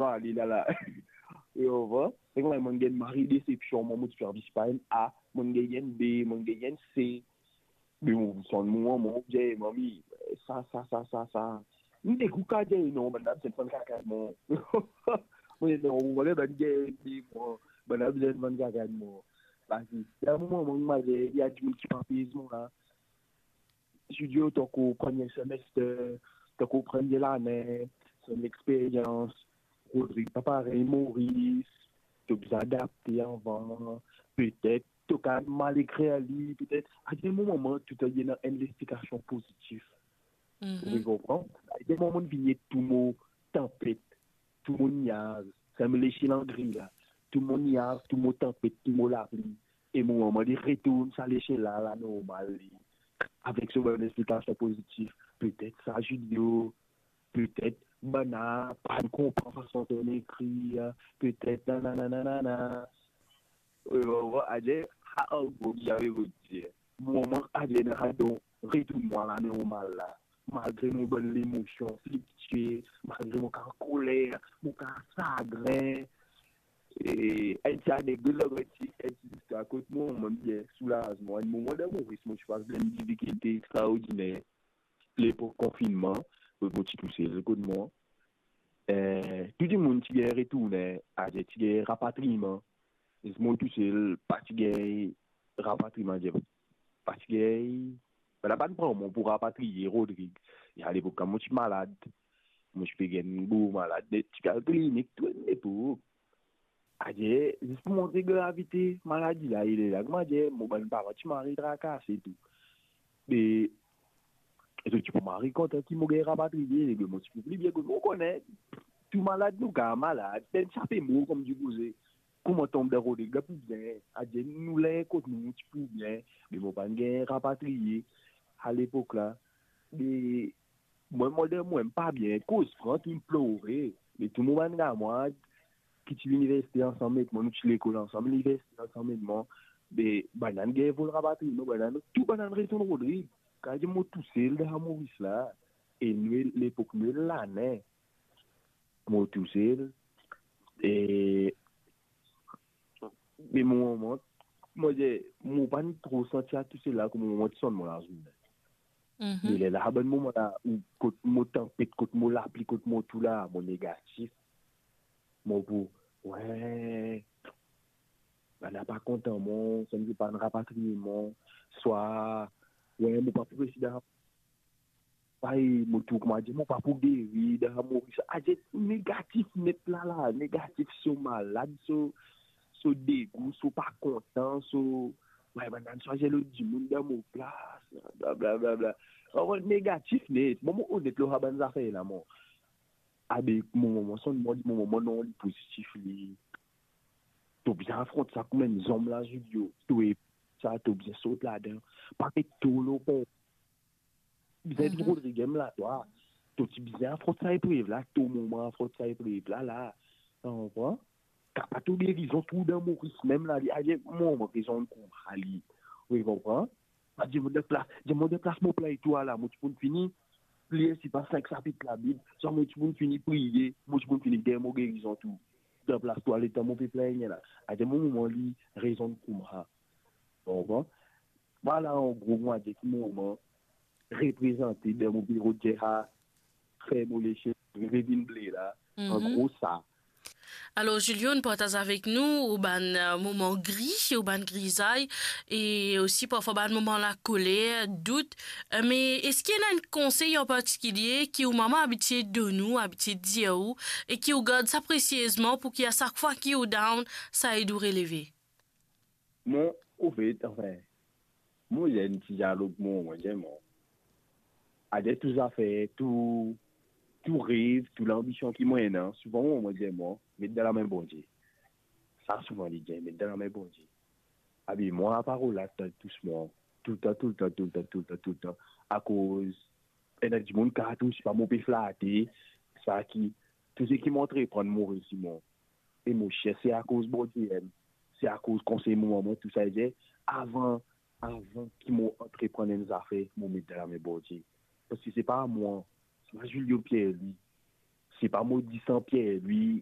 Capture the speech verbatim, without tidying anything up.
pa ale la la. Ou konpran? Se kouma monn gagn mari desepsion, mwa, mo ti pe anvi sipa enn A, monn gagn enn B, monn gagn enn C. Me mo sonn mo manman, mo dir, "Manmi, sa, sa, sa, sa, sa." Mo dir, "Ou kapav dir non, bann la bizin vann kaka mwa." Mo dir, "Non, mo pa kapav dir non, bann la bizin vann kaka mwa." Parski dan moman mo manz, li a dimoun ki pa pez mwa la. Studio, tankou premie semester, tankou premie lane, son experyans, Rodrig pa parey Moris, to bizin adapte avan, petet to kapav mal ekrir li, petet. A enn moman, tou ena enn lespikasion pozitif. Mhm. Ou konpran? A enn moman, vinn tou mo tanpet, tou mo niaz, sa mo lesiel an gri la. Tou mo niaz, tou mo tanpet, tou mo lapli. E mo manman, li retourn sa lesiel la, la normal li. Avek so bann lespikasion pozitif, petet sa Julio, petet bann la pa konpran fason to ekrir, petet nanana, nanana. Ou konpran? Adir, sa an gro ki ave pou dir. Mo manman adir ena sa don retourn mwa la normal la. Malgre mo bann lemosion flitye, malgre mo kapav koler, mo kapav sagrin. E enn ti anekdot la, enn ti, enn ti listwar kot mo manman bien soulaz mwa. Enn moman dan Moris, mo ti pas bann difikilte extraordiner. Lepok konfinnman, kot mo ti tousel kot mwa. Eh, tou dimoun ti gagn retourne, adir ti gagn rapatriman. Zis mo tousel pa ti gagn rapatriman, adir pa ti gagn, bann la pa ti pran mwa pou rapatriye Rodrig. E alepok la, mo ti malad. Mo ti pe gagn gro malad, ti al klinik tou enn lepok. Adir, zis pou montre gravite maladi la, e lerla, kouma dir, mo bann paran ti mari trakase tou. Me, e zot ti pou mari kontan ki mo gagn rapatriye, me mo ti pou pli bien kot mo, ou kone, tou malad nou kapav malad, pena sape mo kouma dir koze. Kouma tonbe dan Rodrig la pou bien, adir nou la kot nou, nou ti pou bien, me mo pa'nn gagn rapatriye alepok la. Me mwa, mo dir mwa pa bien, koz fran, tou plore. Me tou mo bann kamarad ki ti liniversite ansam ek mwa, nou ti lekol ansam, liniversite ansam ek mwa, be bann la gagn vol rapatriye, bann la, tou bann la retourn Rodrig. Kapav dir mo tousel dan Moris la. E nou, lepok nou lane, mo tousel. E, me mo manman, mo dir, mo pa'nn tro santi sa tousel la, kouma mo ti sonn mo lazourne. Mhm. Me lerla, bann moman la, ou kot mo tanpet, kot mo lapli, kot mo tou la, mo negatif. Mo pou, we, bann la pa kontan mwa, sann ki pa'nn rapatriye mwa, swa, we, mo pa pou resi dan, ay, mo tou, kouma dir, mo pa pou geri dan Moris. Adir negatif net la la, negatif, so malad, so, so degou, so pa kontan, so, we, bann la swazir lot dimoun dan mo plas, blablabla. Anfin, negatif net. Mwa, mo onet lor sa bann zafer la, mwa. Abe, mo manman sonn mwa, mo manman non, li pozitif, li. To bizin afront sa kouma enn zom la, Julio. To e sa, to bizin sort ladan. Pa met to lor pe. Bizin, mhm, trouv regem la, twa. To ti bizin afront sa eprev la, to moman afront sa eprev la, la. To konpran? Kapav to gerizon tou dan Moris mem la, li, aye, mo manman rezon kouma li. Ou konpran? Pa dir mo dan plas, dir mo dan plas mo play tou la, mo ti pou fini lir sipa sink sapit Labib, swa mo ti pou fini priye, mo ti pou fini gagn mo gerizon tou. Dan plas twa, letan mo pe plengne la. Adir mo manman li rezon kouma. To konpran? Vwala, an gro, mo dir ki mo manman reprezante dan mo biro, dir sa, fer mo lesiel vinn ble la, an, mhm, gro sa. Alor, Julio, partaz avek nou ou bann, eh, moman gri, ou bann grizay, e osi parfwa bann moman lakoler, dout. Eh, me eski ena enn konsey an partikilie ki ou manman abitie donn ou, abitie dir ou, e ki ou gard sa presiezman pou ki a sak fwa ki ou down, sa ed ou releve? Mo, anfet, anfin, mo dir enn ti dialog mo, mo dir mo, adir tou zafer, tou, tou rev, tou lanbision ki mo ena, souvan mo, mo dir mo, met dan lame Bondie. Sa souvan li dir, met dan lame Bondie. Abi, mo, sa parol la, touzour, toultan, toultan, toultan, toultan, toultan. Akoz ena dimoun kapav trouv, sipa, mo pe flate, sa ki, tou seki mo antreprann, mo resi, mo. E mo sir se akoz Bondie enn, se akoz konsey mo manman, tou sa, li dir, avan, avan ki mo antreprann enn zafer, mo met dan lame Bondie. Parski se pa mwa, se pa Julio Pierre Louis. se pa mo disan Pierre, li,